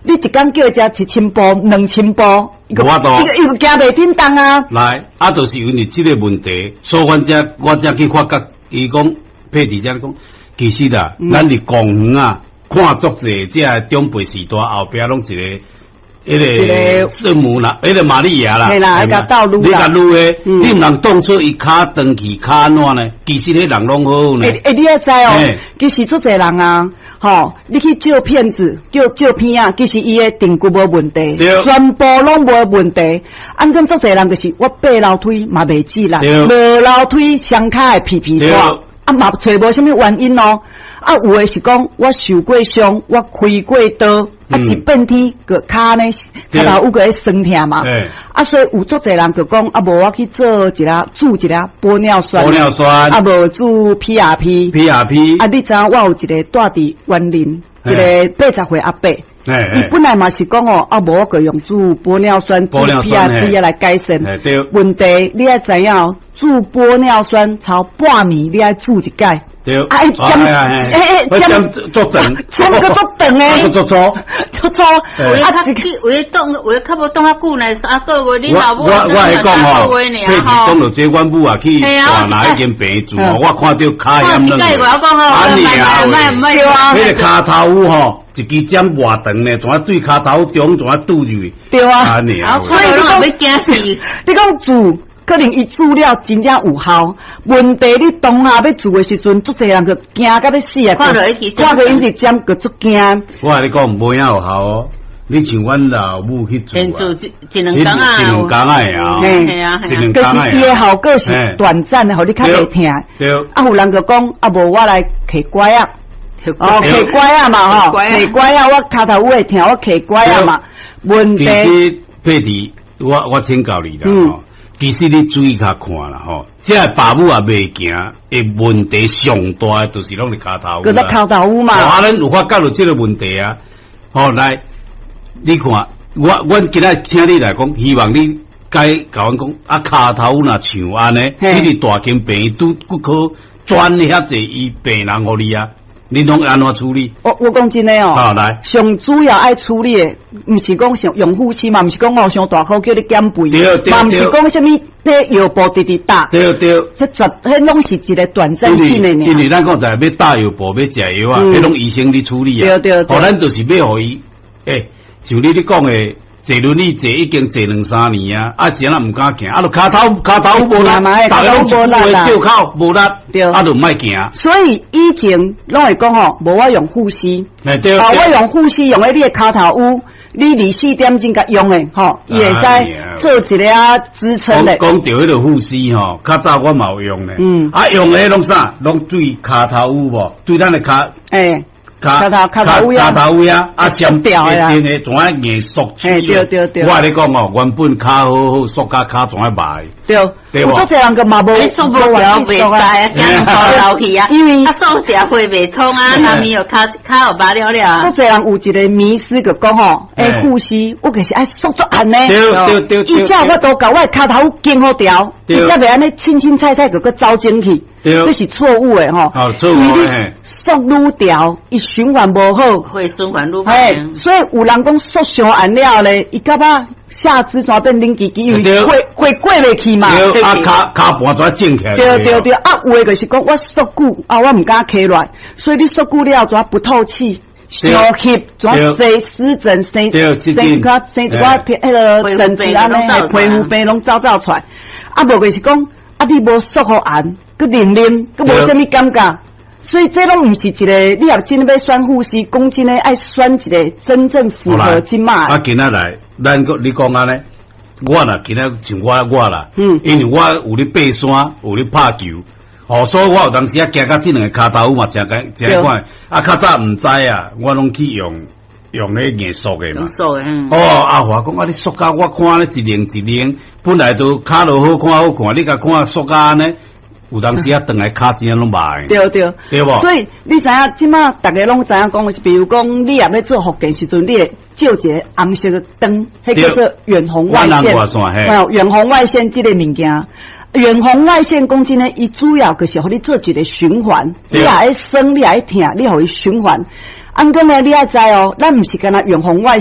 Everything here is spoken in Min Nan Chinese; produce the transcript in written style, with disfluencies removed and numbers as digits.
你一工叫伊食1000步、2000步，伊無法度。伊個行袂振動啊。來，啊，就是因為這個問題，所以阮才我才去發覺，伊講佩蒂才講，其實啊，咱佇公園啊，看足濟這个長輩時代後壁攏一个。彼個聖母啦，彼個瑪利亞啦，嘿啦，共鬥擄啦，你共擄的，你毋通當初伊跤斷去跤按怎呢？其實彼人攏好好呢。欸欸，你愛知哦，其實足濟人啊，吼，你去照片子，照照片啊，其實伊的顢骨無問題，全部攏無問題。按講足濟人就是我爬樓梯嘛袂止啦，落樓梯雙跤會皮皮挫，啊嘛揣無啥物原因哦。啊，有的是講我受過傷，我開過刀。啊！一變天閣跤呢，跤頭趺閣咧酸疼嘛。啊，所以有足濟人就講啊，無我去做一下注一下玻尿酸，玻尿酸，啊，無注 PRP。 PRP。啊，你知影我有一個住佇員林，一個80歲阿伯。伊本來嘛是講哦，啊，無我閣用注玻尿酸、注 PRP 來改善。問題你愛知影，注玻尿酸超半年，你愛注一擺。對，啊，針，欸欸，針足長，針閣足長的，足粗，足粗。有的較有的擋，有的較無擋較久呢，3個月，你老母我我會講吼，佩蒂講著這，阮母啊去大拿彼間病院吼，我看著跤險兩個，按呢啊，對啊，彼個跤頭趺吼，一支針偌長呢，怎啊對跤頭中怎啊拄入去？對啊，按呢啊，所以你講，你講注。可能伊注了真正有效，問題你當下欲注的時陣，足濟人就驚甲欲死啊！看著伊一直針，閣足驚。我共你講，無影有效哦。你像阮老母去注，注一兩工啊，一兩工啊，係啊，一兩工可是伊的效果是短暫的，予你較袂疼。對。啊，有人就講啊，無我來提拐仔，哦，提拐仔嘛吼，提拐仔，我跤頭趺會疼，我提拐仔嘛。問題。其實佩蒂，我請教你啦，吼。其實你注意較看啦吼，這个爸母也袂行的問題上大的就是攏佇跤頭趺。閣咧跤頭趺嘛。啊，咱有發覺著這個問題啊，吼來，你看，我阮今仔請你來講，希望你該共阮講，啊，跤頭趺若像按呢，你佇大間病院拄骨科專遐濟醫病人予你啊。你攏按怎處理？我講真的哦，好來，上主要愛處理的，毋是講像用護膝嘛，毋是講哦傷大箍叫你減肥，嘛毋是講啥物這藥布直直打，對對，這絕彼攏是一個短暫性的。因為咱講在欲打藥布，欲食藥啊，彼攏醫生咧處理啊。對對對。哦，咱就是欲予伊，欸，像你咧講的。坐輪椅坐已經坐兩三年啊，啊，真啊毋敢行，啊，就跤頭跤頭無力，逐家攏無力借口無力，啊，就毋愛行。所以以前攏會講吼，無我用護膝，啊，我用護膝用佇你的跤頭趺，你24點鐘共用的吼，伊會使做一个啊支撐的。講著彼个護膝吼，較早我嘛有用咧，啊，用的攏啥？攏對跤頭趺無？對咱的跤。欸。跤頭跤頭位啊，跤頭位啊，啊，上掉的一定會怎樣硬縮起。對對對。我共你講哦，原本跤好好，縮甲跤怎樣䆀？對，對無？足濟人閣嘛無，你縮無牢袂使啊，驚頭流去啊。因為啊，縮掉血袂通啊，後面又跤跤又麻了了。足濟人有一個迷思，就講吼，欸，護膝我就是愛縮足按呢。對對對。伊才有法度共我的跤頭緊好牢，伊才袂按呢凊凊彩彩就閣走進去。這是錯誤的吼，因為你縮愈牢，伊循環無好，會循環愈歹。所以有人講縮傷按了咧，伊感覺下肢怎變冷吱吱，因為血血過袂去嘛。對，啊，跤跤盤怎腫起來？對對對，啊，有的就是講我縮久，啊，我毋敢起來，所以你縮久了怎不透氣？傷翕，怎生濕疹，生生一寡生一寡彼个疹子按呢，皮膚病攏走走出來。啊，無就是講，啊，你無縮予按。閣冷冷，閣無啥物感覺，所以這攏毋是一個，你若真欲選護膝，講真的愛選一個真正符合這馬。啊，今仔來，咱閣你講按呢，我若今仔像我我啦，因為我有咧爬山，有咧拍球，哦，所以我有當時啊行到這兩个跤頭嘛，誠簡誠快。啊，較早毋知啊，我攏去用用彼硬縮的嘛。縮的，哦，阿華講啊，你縮甲我看咧一零一零，本來都跤都好看好看，你共看縮甲按呢？有當時啊，轉來跤真攏䆀。對對，對無？所以你知影，這馬逐家攏知影講，比如講，你若欲做復健時陣，你會照一个紅色的燈，彼叫做遠紅外線。哦，遠紅外線這個物件，遠紅外線講真的，伊主要就是予你做一個循環。你若會酸，你若會疼，你予伊循環。按過呢，你愛知哦，咱毋是干焦遠紅外。